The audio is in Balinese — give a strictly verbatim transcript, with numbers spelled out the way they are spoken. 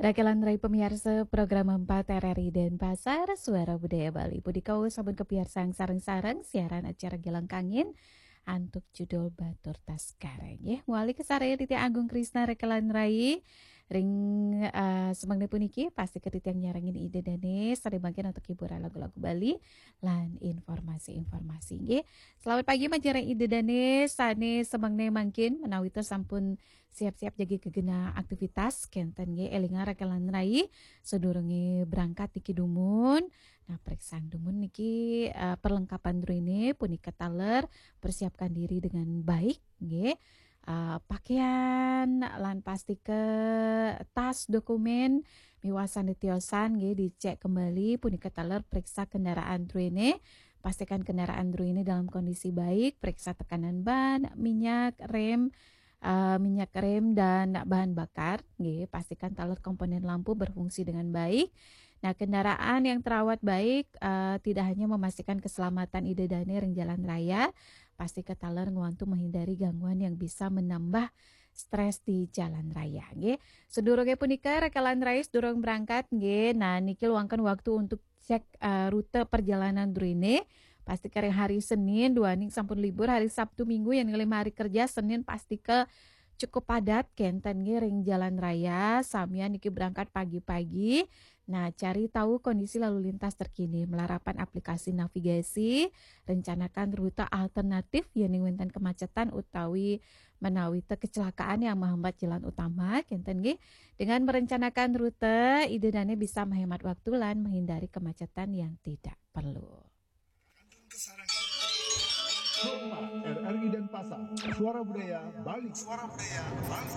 Rakelan rai pamiarsa program empat R R I Denpasar, Suara Budaya Bali. Punika sampun kapiarsang sareng-sareng siaran acara Gelangkangin antuk judul Batur Taskara. Nggih, mawali kasarengin Titiang Agung Krisna rakelan rai. Ring, eh, semangna puniki, pastika titiang nyarengin Ida Dane, sareng mangkin antuk hiburan lagu-lagu Bali lan informasi-informasi. Nggih, selamat pagi manjareng Ida Dane, sane semangna mangkin menawi sampun siap-siap jagi gegena aktivitas, kenten nggih, elinga rakelan rai, sadurunge berangkat niki dumun. Nah, periksa dumun niki, eh, perlengkapan druene punika taler persiapkan diri dengan baik, nggih. Eh, pakaian lan pastika tas, dokumen miwah sane tiosan nggih dicek kembali, punika taler periksa kendaraan druene, pastikan kendaraan druene dalam kondisi baik, periksa tekanan ban, minyak, rem, eh, minyak rem dan bahan bakar, nggih, pastikan taler komponen lampu berfungsi dengan baik. Nah, kendaraan yang terawat baik, eh, tidak hanya memastikan keselamatan Ida Dane ring jalan raya, pastika taler ngwantu menghindari gangguan yang bisa menambah stres di jalan raya, nggih. Sadurunge punika, rakelan rai, sadurung berangkat, nggih. Nah, niki luangkan waktu untuk cek, eh, rute perjalanan druene. Pastika ring hari Senin, duaning sampun libur, hari Sabtu, Minggu, yen ngalih hari kerja, Senin pastika cukup padat, kenten nggih ring jalan raya, samian niki berangkat pagi-pagi. Nah, cari tahu kondisi lalu lintas terkini, melarapan aplikasi navigasi, rencanakan rute alternatif, yening wenten kemacetan utawi menawi te kecelakaan yang menghambat jalan utama, kenten nggih. Dengan merencanakan rute, Ida Dane bisa menghemat waktu lan menghindari kemacetan yang tidak perlu. Empat R R I Denpasar, Suara Budaya Bali. Suara Budaya Bali.